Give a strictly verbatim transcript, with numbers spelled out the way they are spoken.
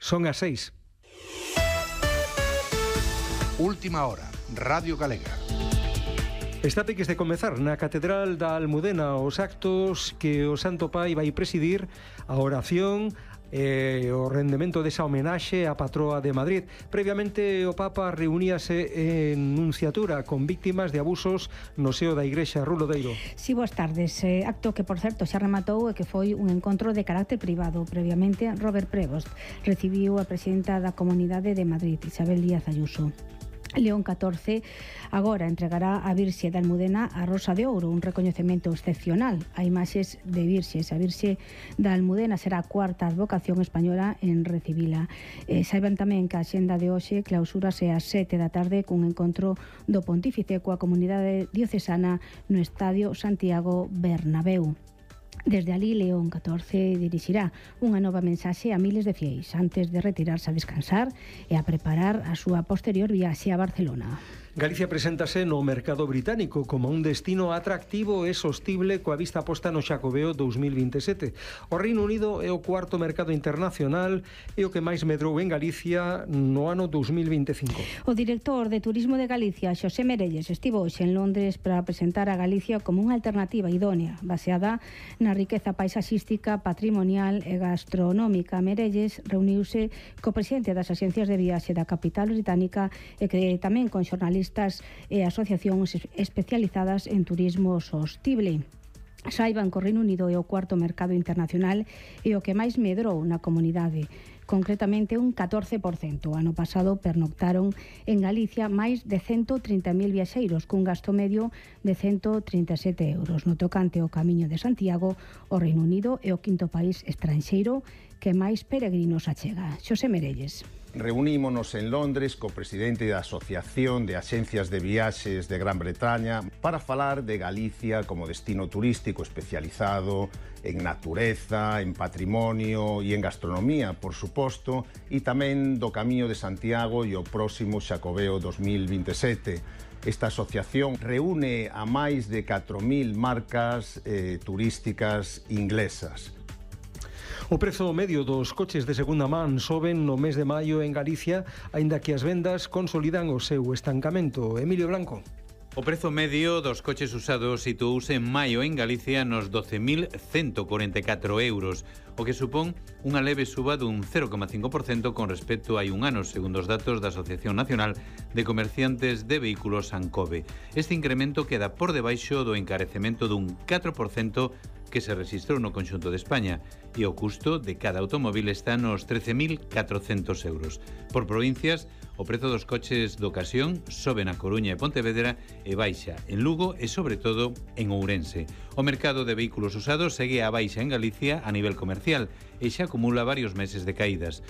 Son as seis. Última hora, Radio Galega. Está peques de comezar na Catedral da Almudena os actos que o Santo Pai vai presidir, a oración e o rendemento desa homenaxe á patroa de Madrid. Previamente o Papa reuníase en nunciatura con víctimas de abusos no seo da Igrexa. Rulodeiro. Si, boas tardes. Eh, acto que, por certo, xa rematou e que foi un encontro de carácter privado. Previamente, Robert Prevost recibiu a presidenta da Comunidade de Madrid, Isabel Díaz Ayuso. León catorce agora entregará a Virxe da Almudena a Rosa de Ouro, un recoñecemento excepcional a imaxes de virxes. A Virxe da Almudena será a cuarta advocación española en recibila. Eh, saiban tamén que a xenda de hoxe clausúrase ás sete da tarde cun encontro do Pontífice coa comunidade diocesana no Estadio Santiago Bernabéu. Desde alí, León catorce dirixirá unha nova mensaxe a miles de fieis antes de retirarse a descansar e a preparar a súa posterior viaxe a Barcelona. Galicia preséntase no mercado británico como un destino atractivo e sostible coa vista posta no Xacobeo dous mil vinte e sete. O Reino Unido é o cuarto mercado internacional e o que máis medrou en Galicia no ano dous mil vinte e cinco. O director de Turismo de Galicia, Xosé Merelles, estivo hoxe en Londres para presentar a Galicia como unha alternativa idónea, baseada na riqueza paisaxística, patrimonial e gastronómica. Merelles reuniuse co presidente das axencias de viaxe da capital británica e que tamén con xornalistas e asociacións especializadas en turismo sostible. Saiban que o Reino Unido é o cuarto mercado internacional e o que máis medrou na comunidade, concretamente un catorce por cento. O ano pasado pernoctaron en Galicia máis de ciento trinta mil viaxeiros cun gasto medio de ciento trinta e sete euros. No tocante ao Camiño de Santiago, o Reino Unido é o quinto país estranxeiro que máis peregrinos achega. Xosé Merelles. Reunímonos en Londres co presidente da Asociación de Axencias de Viaxes de Gran Bretaña para falar de Galicia como destino turístico especializado en natureza, en patrimonio e en gastronomía, por suposto, e tamén do Camiño de Santiago e o próximo Xacobeo dos mil vinte e sete. Esta asociación reúne a máis de catro mil marcas eh, turísticas inglesas. O prezo medio dos coches de segunda man soben no mes de maio en Galicia, aínda que as vendas consolidan o seu estancamento. Emilio Blanco. O prezo medio dos coches usados situouse en maio en Galicia nos doce mil ciento corenta e catro euros, o que supón unha leve suba dun cero coma cinco por cento con respecto a hai un ano, segundo os datos da Asociación Nacional de Comerciantes de Vehículos ANCOVE. Este incremento queda por debaixo do encarecemento dun catro por cento que se registrou no conxunto de España e o custo de cada automóvil está nos trece mil catrocentos euros. Por provincias, o prezo dos coches de ocasión sobe na Coruña e Pontevedra e baixa en Lugo e, sobre todo, en Ourense. O mercado de vehículos usados segue a baixa en Galicia a nivel comercial e xa acumula varios meses de caídas.